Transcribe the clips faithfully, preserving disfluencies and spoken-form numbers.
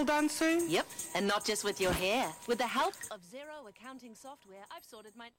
Pole dancing? Yep, and not just with your hair. With the help of Xero accounting software, I've sorted my...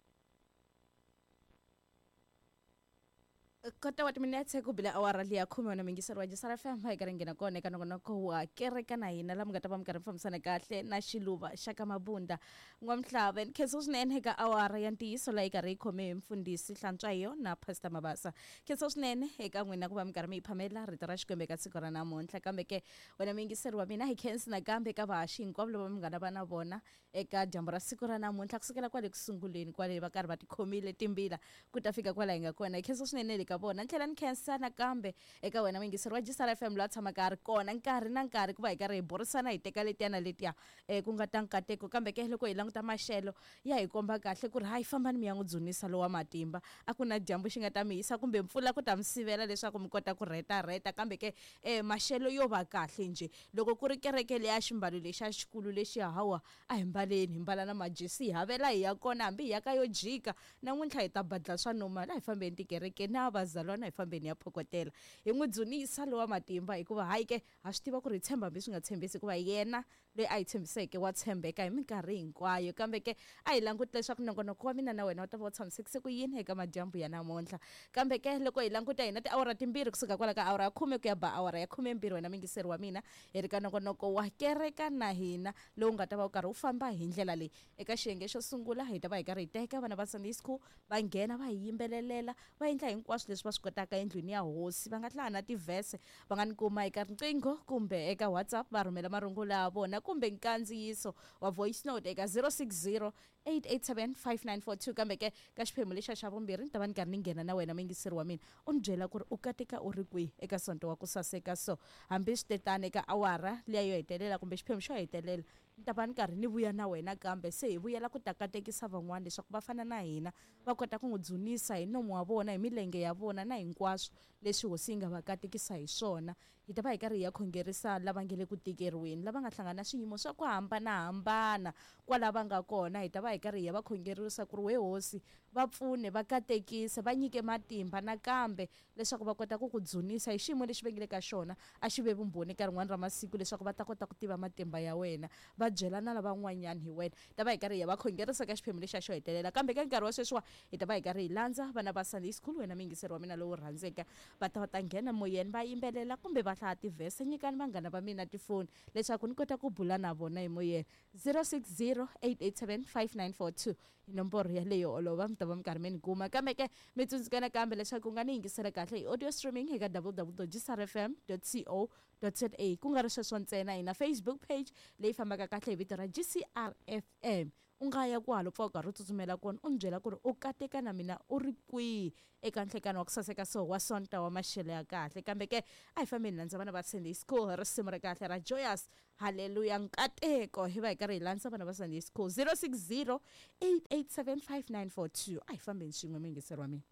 Kota wa timinetse ku bila awara liya khume wena mingiseri wa G C R F M hi karhi nghena kona eka nongonoko wa kereka na hina laha mi nga ta va mi karhi mi fambisana kahle na Xiluva xa ka Mabunda N'wamhlava. Nkhensa swinene eka awara ya ntiyiso laha yi karhi yi khome hi mfundhisi Hlantswayo na Pastor Mabasa. Nkhensa swinene eka n'wina ku va mi karhi mi yi phamela rito ra Xikwembu eka siku ra namuntlha. Kambe ke wena mingiseri wa mina hi khensi nakambe eka vahaxi hinkwavo lava mi nga na va na vona eka dyambu ra siku ra namuntlha kusukela kwale kusunguleni kwale va karhi va tikhomile timbila ku ta fika kwala hi nga kona. Hi khensa swinene ka vona. Ni tlhela ni khensa nakambe eka wena muyingiseri wa G C R F M loyi a tshamaka a ri kona nkarhi na nkarhi ku va hi karhi hi burisana hi teka letiya na letiya um ku nga ta nkateko. Kambe ke loko hi languta maxelo ya hi komba kahle ku ri hayi fambani mi ya n'wi dzunisa lowa matimba, a ku na dyambu xi nga ta mi hisa kumbe mpfula ku ta mi sivela leswaku mi kota ku rhetarheta. Kambe ke um maxelo yo va kahle njhe loko ku ri kereke leya ximbalo lexa xikulu lexi hawa a hi mbaleni hi mbala na majesi hi havela hi ya kona hambi hi ya ka yo jika namuntlha hi ta badla swa normal. A hi fambeni tikerekeni na vazalwana hi fambeni ya phokotela hi n'wi dzunisa lowa matimba hikuva hayi ke ha swi tiva ku ri hi tshemba hambi swi nga tshembisi hikuva yena loyi a hi tshembiseke wa tshembeka hi minkarhi hinkwayo. Kambe ke a hi languti leswaku nongonoko wa mina na wena wu ta va wu tshamisekise ku yini eka madyambu ya namuntlha. Kambe ke loko hi languta hina tiawara timbirhi kusuka kwala ka awara ya khume ku ya ba awara ya khumembirhi wena mingiseri wa mina hi ri ka nongonoko wa kereka na hina lowu nga ta va wu karhi wu famba hi ndlela leyi. Eka xiyenge xo sungula hi ta va hi karhi hi teka vana va Sunday school va nghena va hi yimbelelela va endla hinkwaswo leswi va swi kotaka endlwini ya hosi. Va nga hlaya na tivhese, va nga ni kuma eka riqingho kumbe eka WhatsApp va rhumela marungula ya vona kumbe nkandziyiso wa voice note eka zero six zero eight eight seven five nine four two. Kambe ke ka xiphemu lexa xa vumbirhi ni ta va ni karhi ni nghena na wena muyingiseri wa mina u ni byela ku ri u kateka u ri kwihi eka sonto wa ku saseka. So hambi swi tetana eka awara liya yo hetelela kumbe xiphemu xo hetelela ni ta va ni karhi ni vuya na wena, kambe se hi vuyela ku ta katekisa van'wana leswaku va fana na hina va kota ku n'wi dzunisa hi nomu wa vona hi milenge ya vona na hinkwaswo leswi hosi yi nga va katekisa hi swona. Hi ta va hi karhi hi ya khongerisa lava nge le ku tikeriweni, lava nga hlangana na swiyimo swa ku hambanahambana kwala va nga kona. Hi ta va hi karhi hi ya va khongerisa ku ri we hosi va pfune va katekise va nyike matimba nakambe leswaku va kota ku ku dzunisa hi xiyimo lexi va nge le ka xona. A xi ve vumbhoni ka rin'wana ra masiku leswaku va ta kota ku tiva matimba ya wena, va byela na lavan'wanyana hi wena. Ta va hi karhi hi ya va khongerisa ka xiphemu lexa xo hetelela. Kambe ka nkarhi wa sweswiwa hi ta va hi karhi hi landza vana va Sunday school wena muyingiseri wa mina lowu rhandzeka va ta va ta nghena moyeni va yimbelela kumbe va hlaya tivhese. Nyikani vanghana va mina tifoni leswaku ni kota ku bula na vona hi moyeni. Zero six zero eight eight seven five nine four two hi nomboro yaleyo olova mi ta va mi karhi mi ni kuma. Kambe ke mi tsundzuka nakambe leswaku u nga ni yingisela kahle hi audio streaming eka w w w dot g c r f m dot co dot z a. Ku nga ri sweswo ntsena, hi na Facebook page leyi fambaka kahle hi vito ra G C R F M. U nga ya kwalo pfa u karhi u tsutsumela kona u ni byela ku ri u kateka na mina u ri kwihi eka nhlekano wa ku saseka so wa sonta wa maxelo ya kahle. Kambe ke a hi fambeni landza vana va Sunday school hi risimu ra kahle ra Joyous Hallelujah Nkateko. Hi va hi karhi hi landza vana va Sunday school zero six zero eight eight seven five nine four two. A hi fambeni swin'we muyingiseri wa mina.